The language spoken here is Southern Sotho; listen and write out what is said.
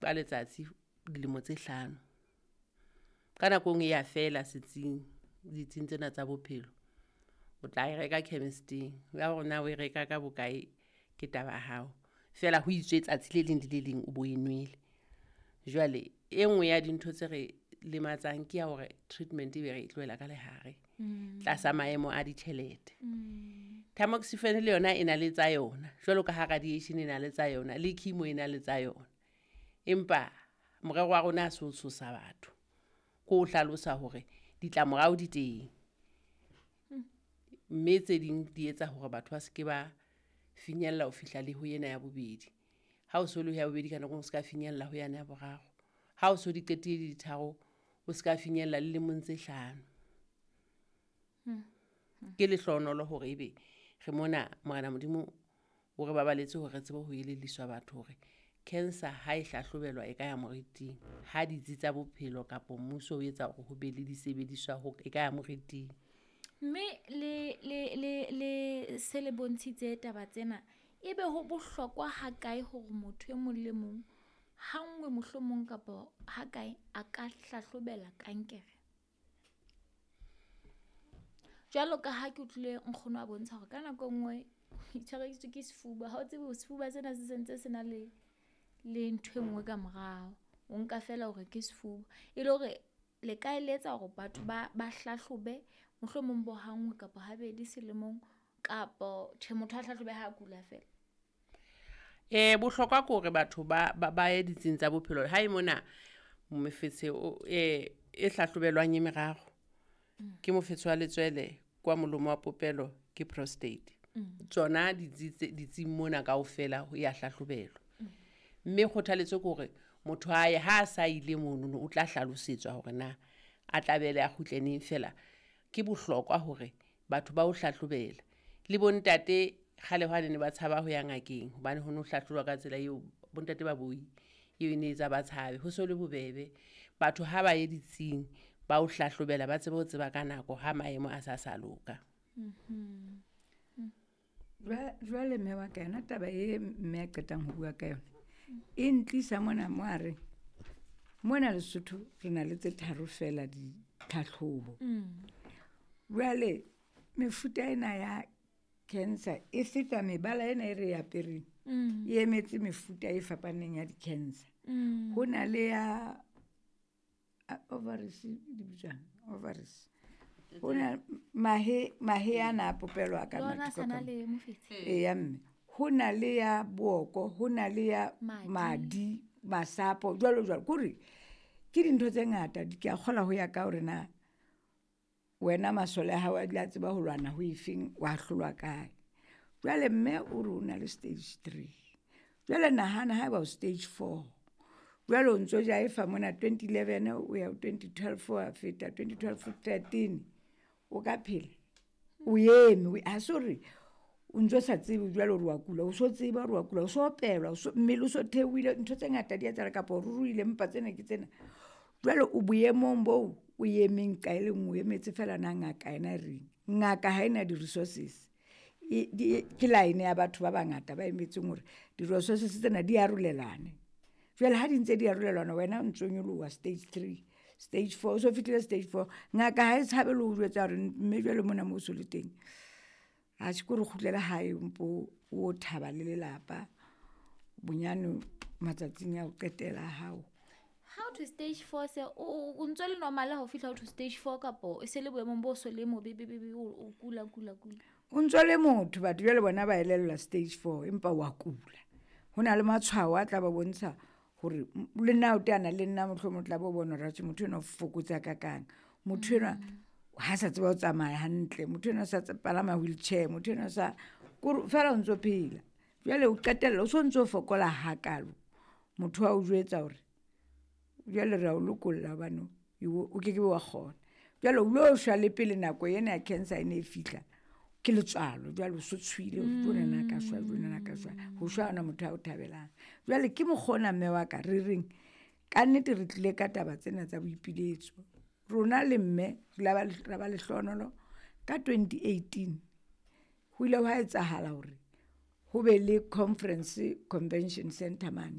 Ka letsatsi dilemo tse 5. Ka nako e nngwe ya fela setsing, ditsing tsena tsa bophelo. O tla e reka chemist-ing. Ya hore na o e reka ka bokae ke taba ya hao. Feela ho itswe tsatsi le leng le le leng o bo e nwele. Jwale e nngwe ya dintho tse re lematsang ke ya hore treatment e be re e tlohela ka lehare. Tlasa maemo a ditjhelete. Tamoxifen le yona e na le tsa yona. Jwalo ka ha radiation e na le tsa yona, le chemo e na le tsa yona. Empa morero wa rona ha se ho tshosa batho. Ke ho hlalosa hore ditlamorao di teng. Mme tse ding di etsa hore batho ba seke ba finyella ho fihla le ho ena ya bobedi. Ha o so le ho ya bobedi ka nako e nngwe o ska finyella ho yane ya boraro. Ha o so di qetile di tharo, o ska finyella le lemong tse 5. Ke lehlohonolo hore ebe re mona Morena Modimo o re babaletse hore re tsebe ho elelliswa batho hore cancer ha e hlahlobelwa e ka ya moriting. Ha ditsi tsa bophelo kapa mmuso o etsa hore ho be le disebediswa ho e ka ya moriting. Mme le se le bontshitse taba tsena, ebe ho bohlokwa ha kae hore motho e mong le mong ha nngwe mohlomong kapa ha kae a ka hlahlobela kankere? Jwalo ka ha ke utlwile nkgono a bontsha hore ka nako e nngwe o itshwareditswe ke sefuba, ha o tsebe hore sefuba sena se sentse se na le ntho e nngwe ka morao. O nka feela hore ke sefuba. E le hore le ka eletsa hore batho ba hlahlobe mohlomong bo ha nngwe kapa habedi selemong, kapo tjhe motho a hlahlobe ha kula feela? Bohlokwa ke hore batho ba ye ditsing tsa bophelo. Ha e mona mofetshe e hlahlobelwang e meraro. Ke mofetshe wa letswele, kwa molomo wa popelo, ke prostate. Tsona ditsing mona kaofela ho ya hlahlobelwa. Mme kgothaletso ke hore motho a ye, ha a sa ile monono o tla hlalosetswa hore na a tla a kgutle neng. Feela ke bohlokwa hore batho ba o hlahlobela. Le bo ntate kgale hwane ne ba tshaba ho ya ngakeng hobane ho no hlahlojwa ka tsela eo bontate ba boi eo e ne etsa ba tshabe. Ho so le bobebe. Batho ha ba ye ditsing ba o hlahlobela, ba tsebe ho tseba ka nako ha maemo a sa loka. Jwale mme wa ka yona taba e mme a qetang ho bua ka yona e ntlisa mona mo a reng mona Lesotho re na le tse tharo feela ditlhahlobo. Jwale mefuta ena ya cancer e feta mebala ena e re e apereng, e emetse mefuta e fapaneng ya di-cancer. Ho na le ya ovaries di bitswang ovaries. Ho na mahe ana a popelo a ka mofetshe. Eya mme. Ho na le ya booko, ho na le ya madi, masapo, jwalo jwalo. Kore ke dintho tse ngata ke a kgolwa ho ya ka hore na wena masole a hao a dula a tseba ho lwana ho efeng, wa hlolwa kae. Jwale mme o re o na le stage 3. Jwale nahana haeba o stage 4. Jwale o ntso jaefa mona 2011 o ya ho 2012 wa feta 2012 13 o ka phela. O eme, ha se hore o ntso sa tsebe jwale hore wa kula, o so tseba hore wa kula, o so opelwa, mmele o so theohile, ntho tse ngata di etsahala kapa o ruruhile mpa tsena ke tsena. Jwale o boemong boo o emeng ka e le nngwe, o emetse feela na ngaka yena e reng. Ngaka ha ena di-resources. Ke line ya batho ba bangata ba emetseng hore di-resources tsena di arolelane. Jwale ha di ntse di arolelana wena o ntso nyoloha stage 3, stage 4, o so fihlile stage 4. Ngaka ha e tshabe le ho jwetsa hore mme jwale mona moo so le teng. Atjhe ke hore o kgutlele hae mpo o thaba le lelapa bonyane matsatsing a ho qetela a hao. Ha o thwe stage 4 se o ntso le normal ha o fihla ho thwe stage 4 kapo e se le boemong bo so le mobe be be o kula kula kula. O ntso le motho batho jwale bona ba elellwa stage 4 empa wa kula. Ho na le matshwao a tla ba bontsha hore le nna o teana le nna mohlomong o tla bo bona hore atjhe motho enwa o fokotse hakakang. Motho enwa ha sa tseba ho tsamaya hantle, motho enwa sa palama wheelchair, motho enwa sa kore feela o ntso phela. Jwale o qetella o so ntso fokola hakalo. Motho wa o jwetsa hore jwale re a o lokolla hobane o keke wa kgona. Jwale o lo shwa le pele nako ena ya cancer e ne e fihla. Ke letswalo jwale o so tshohile hore jwale nna ka shwa, jwale nna ka shwa. Ho shwa ha hona motho a o thabelang. Jwale ke mokgwa ona mme wa ka re reng ka nnete re tlile ka taba tsena tsa boipiletso. Rona le mme re ra ba lehlohonolo ka 2018 ho ile hwa etsahala hore ho be le conference convention center mane.